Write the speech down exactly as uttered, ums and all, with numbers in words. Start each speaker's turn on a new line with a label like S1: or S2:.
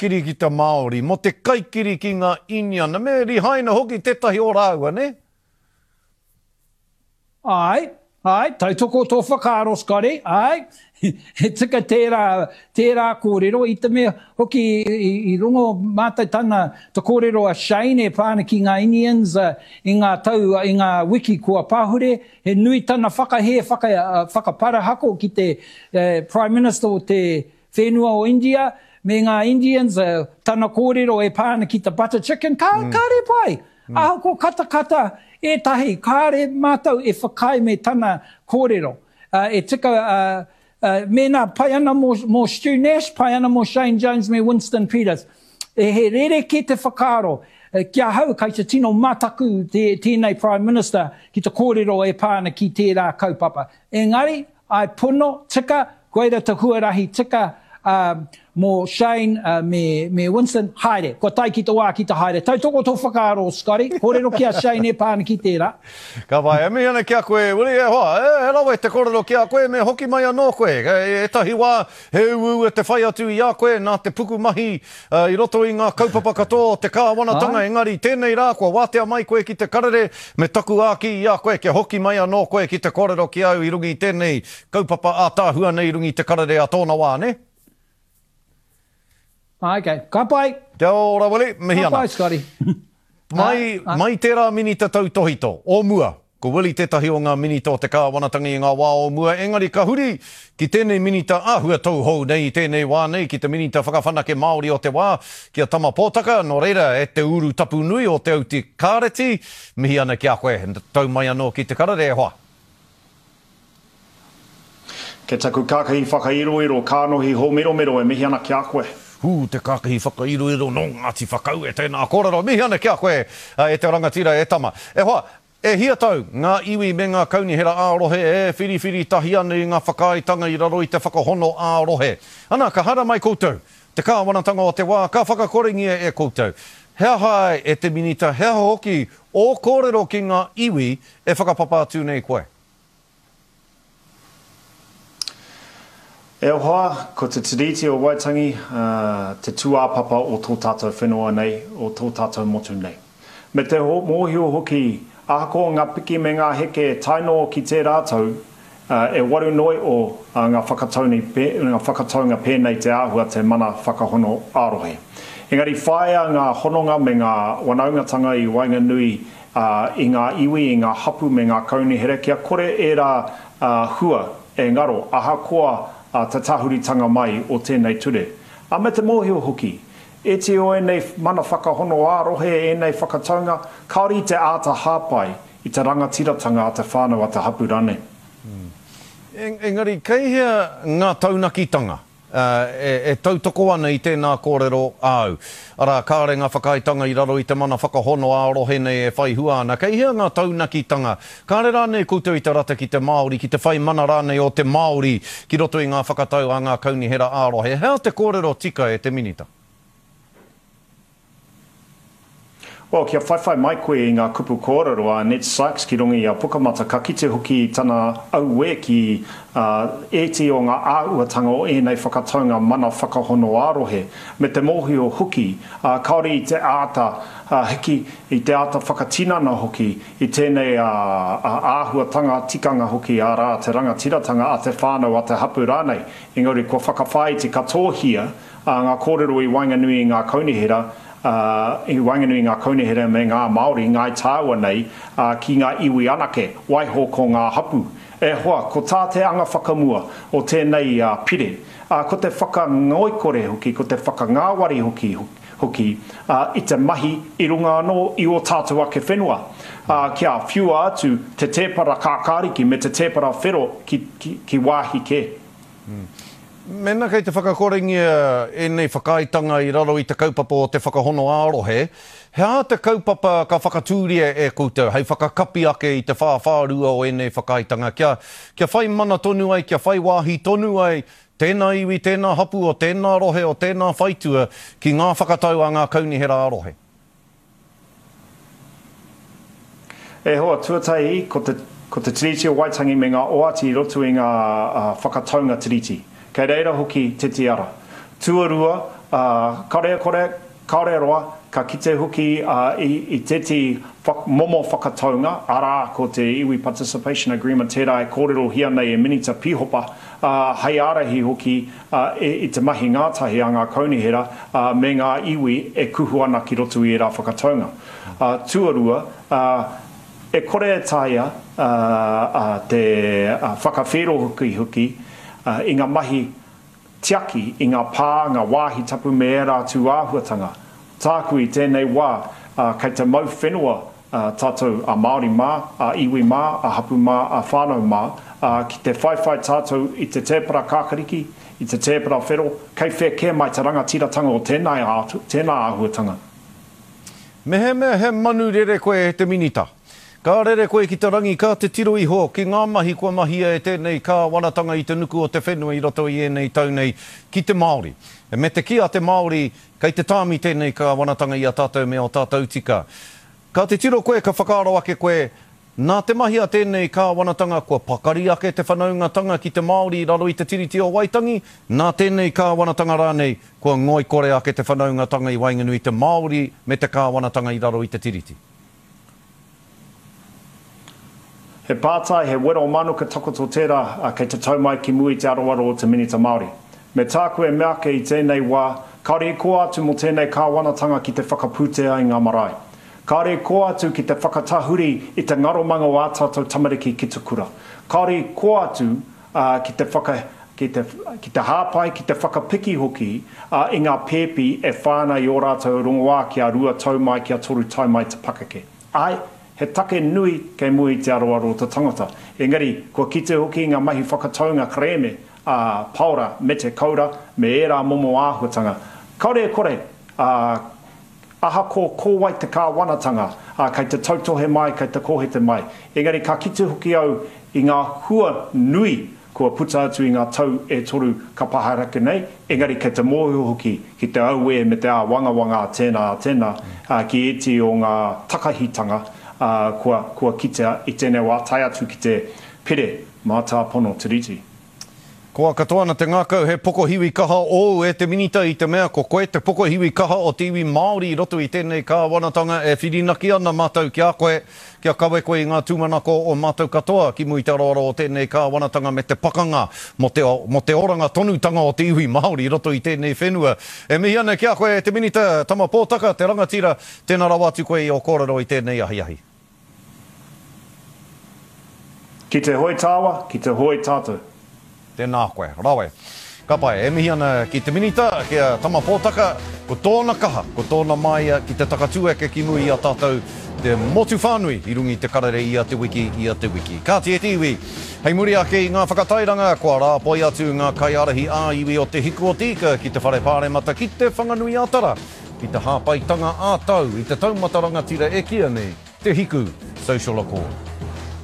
S1: kiri ki te Māori, mō te kaikiri ki ngā Iniana, me rihaina hoki tētahi o rāua, ne?
S2: Ai, ai, tautoko tō whakaaro, Scotty, ai, he tika tērā, tērā kōrero, i te mea hoki i, i rongo mātou tana te kōrero a Shane e pā ana ki ngā Indians uh, i ngā tau, i ngā wiki kua pahure, he nui tana whakahē, whaka, uh, whakaparahako ki te uh, Prime Minister o te whenua o India, me ngā Indians, uh, tana kōrero e pā ana ki te butter chicken, ka, mm. kāre pai. Mm. Ahakoa katakata ētahi, kāre mātou e whakaae me tana kōrero. Uh, e tika, uh, uh, mēnā pai ana mō, mō Stu Nash, pai ana mō Shane Jones me Winston Peters. E he rerekē te whakaaro, uh, ki ahau kai te tino mataku te, tēnei Prime Minister ki te kōrero e pā ana ki tērā kaupapa. Engari, ai pono, tika, koira te huarahi tika uh, mō Shane uh, me, me Winston, haere. Kua tae ki te wā ki te haere. Tautoko tō whakaaro, Scotty. Kōrero ki a Shane e pā ana ki tērā.
S1: Ka pai, e mihi ana ki a koe, Willie, e hoa, e, he rawe te kōrero ki a koe, me hoki mai anō koe. E, ētahi wā, he uaua te whai atu i a koe, nā te pukumahi uh, i roto i ngā kaupapa katoa o te kāwanatanga, engari tēnei rā, kua wātea mai koe ki te karere, me taku āki i a koe, kia hoki mai anō koe ki te kōrero ki au i runga i tēnei kaupapa ātaahua nei i runga i te karere a tōna wā, ne?
S2: Okay, ka pai.
S1: Kia ora, Willie, mihi
S2: Ka
S1: ana.
S2: pai, Scotty.
S1: Mai, mai tērā minita tautohito, o mua, ko Willie tētahi o ngā minita o te kāwanatanga i ngā wā o mua, engari ka huri ki tēnei minita āhua tauhou nei i tēnei wā nei, ki te minita whakawhanake Māori o te wā, ki a Tama Pōtaka, nō reira e te uru tapu nui o Te Auti Kāreti, mihi ana ki a koe, tau mai anō ki te karere e hoa.
S3: Ke taku kākahi whakairoiro, kānohi hōmiromiro e mihi ana ki a koe.
S1: Hū, te kākahi whakairoiro nō Ngāti Whakaue, tēnā kōrero, mihi ana ki a koe e te rangatira e tama. E hoa, e hia tau ngā iwi me ngā kaunihera ā-rohe e whiriwhiri tahi ana i ngā whakaaetanga i raro i te whakahono ā-rohe. Ana, ka hara mai koutou, te kāwanatanga o te wā, ka whakakorengia e koutou. He aha ai e te minita, he aha hoki o kōrero ki ngā iwi e whakapapa atu nei koe?
S3: E hoa, ko te Tiriti o Waitangi, uh, te tūāpapa o tō tātou whenua nei, o tō tātou motu nei. Me te ho, mōhio hoki, ahakoa ngā piki me ngā heke tae noa ki tērā tau, uh, e waru noi o uh, ngā whakatauni, ngā whakataunga pēnei te āhua te mana whakahono ā-rohe. Engari whāia ngā hononga me ngā wanaungatanga i waenganui uh, i ngā iwi, i ngā hapu me ngā kaunihera, kia kore ērā uh, hua e ngaro, ahakoa uh, te tahuritanga mai o tēnei ture. A me te mōhio hoki, e te o ēnei mana whakahono ā-rohe, ēnei whakataunga, kāore i te āta hāpai i te rangatiratanga a te whānau a te hapu rānei.
S1: Mm. Engari, kei hea ngā taunakitanga uh, e, e tautoko ana i tēnā kōrero āu? Arā, kāre ngā whakaaetanga i raro i te mana whakahono ā-rohe nei e whai hua ana. Kei hea ngā taunakitanga? Kāre rānei koutou i te rata ki te Māori, ki te whai mana rānei o te Māori ki roto i ngā whakatau a ngā kaunihera ā-rohe. Hea te kōrero tika e te minita?
S3: Well, kia whaiwhai mai koe i ngā kupu kōrero a Annette Sykes ki runga i a Pukamata, ka kite hoki tana auē ki uh, ēti o ngā āhuatanga o ēnei whakataunga mana whakahono ā-rohe, me te mōhio hoki, uh, kāore i te āta uh, hiki, i te āta whakatinana hoki, i tēnei uh, uh, āhuatanga tikanga hoki ārā te rangatiratanga a te whānau a te hapu rānei. Engari kua whakawhāiti katohia uh, ngā kōrero i waenganui i ngā kaunihera, Uh, i waenganui ngā kaunihera me ngā Māori, ngāi tāua nei, uh, ki ngā iwi anake, waiho ko ngā hapu. E hoa, ko tā te anga whakamua o tēnei uh, pire, uh, ko te whakangoikore hoki, ko te whakangāwari hoki, hoki uh, i te mahi i runga anō i o tātou ake whenua. Uh, kia whiua atu te tēpara kākāriki me te tēpara whero ki, ki, ki wāhi kē.
S1: Mm. Mēnā kei te whakakorengia ēnei whakaaetanga i raro i te kaupapa o te whakahono ā-rohe, he aha te kaupapa ka whakatūria e koutou hei whakakapi ake i te whāwhārua o ēnei whakaaetanga, kia, kia whai mana tonu ai, kia whai wāhi tonu ai, tēnā iwi, tēnā hapu o tēnā rohe o tēnā whaitua ki ngā whakatau a ngā kaunihera ā-rohe?
S3: E hoa, tuatahi, ko te, ko te Tiriti o Waitangi me ngā oati i roto i ngā uh, whakataunga tiriti. Kei reira hoki te tiara. Tuarua, kāore e kore, kāore e roa, ka kite hoki i, i tētehi momo whakataunga, arā, ko te Iwi Participation Agreement tērā e kōrerohia nei e Minita Pīhopa, hei ārahi hoki i te mahi ngātahi a ngā kaunihera me ngā iwi e kuhu ana ki roto i ērā whakataunga. Tuarua, e kore e taea te whakawhērohoki hoki i ngā mahi tiaki i ngā pā, ngā wāhi tapu me ērā atu āhuatanga. Tāku i tēnei wā, kei te mau whenua tātou a Māori mā, a iwi mā, a hapu mā, a whānau mā, ki te whaiwhai tātou i te tēpara kākariki, i te tēpara whero, kei whea kē mai te rangatiratanga o tēnā, tēnā āhuatanga.
S1: Mehemea he manu rere koe e te minita, ka rere koe ki te rangi, ka te tiro iho ki ngā mahi kua mahia e tēnei kāwanatanga i te nuku o te whenua i roto i ēnei tau nei ki te Māori. Me te kī a te Māori, kei te tāmi tēnei kāwanatanga i a tātou me o tātou tika. Ka te tiro koe, ka whakaaro ake koe, nā te mahi a tēnei kāwanatanga kua pakari ake te whanaungatanga ki te Māori i raro i te Tiriti o Waitangi, nā tēnei kāwanatanga rānei kua ngoikore ake te whanaungatanga i waenganui i te Māori me te kāwanatanga i raro i te Tiriti.
S3: He pātai, he wero manuka takoto tērā, kei te tau mai ki mua i te aroaro o te Minita Māori. Me tāku e mea ake i tēnei wā, kāore i kō atu mō tēnei kāwanatanga ki te whakapūtea i ngā marae. Kāore i kō atu ki te whakatahuri i te ngaromanga o ā tātou tamariki ki te kura. Kāore i kō atu uh, ki te whaka, ki te, ki te hāpai, ki te whakapiki hoki uh, i ngā pēpi e whāna i ō rātou rongoā kia rua tau mai, kia toru tau mai te pakeke. Ai, he take nui kei mua i te aroaro o te tangata. Engari, kua kite hoki ngā mahi whakataunga kerēme, a Paora me te Kaura, me ērā momo āhuatanga. Kāore e kore, uh, ahakoa ko wai te kāwanatanga, uh, kei te tautohe mai, kei te kōhete mai. Engari, ka kite hoki au i ngā hua nui kua puta atu i ngā tau e toru ka paharake nei, engari kei te mōhio hoki ki te auē me te āwangawanga a tēnā a tēnā, uh, ki ētehi o ngā takahitanga uh, kua, kua kitea i tēnei wā tae atu ki te pere mātāpono Tiriti.
S1: Koa katoa ana te ngākau he pokohiwi kaha ōu e te minita i te mea ko koe te pokohiwi kaha o te iwi Māori i roto i tēnei kāwanatanga e whirinaki ana mātou ki a koe, kia kawe koe i ngā tūmanako o mātou katoa ki mua i te aroaro o tēnei kāwanatanga me te pakanga mō te, mō te oranga tonutanga o te iwi Māori i roto i tēnei whenua. E mihi ana ki a koe e te minita Tama Pōtaka, te rangatira, tēnā rawa atu koe i o kōrero i tēnei ahiahi.
S3: Ki te hoi tāua, ki te hoi tātou.
S1: Tēnā koe, rawe. Ka pai, e mihi ana ki te minita, ki a Tama Pōtaka, ko tōna kaha, ko tōna maia ki te takatūeke ki mua i a tātou te motu whānui i runga i te karere ia te wiki, ia te wiki. Kāti e te iwi, hei muri ake i ngā whakatairanga, kua rāpoi atu ngā kaiārahi ā-iwi o te Hiku o te Ika ki te Whare Pāremata ki te Whanganui-ā-Tara, ki te hāpaitanga ā-tau i te taumata rangatira e kīia nei, te Hiku Social Accord.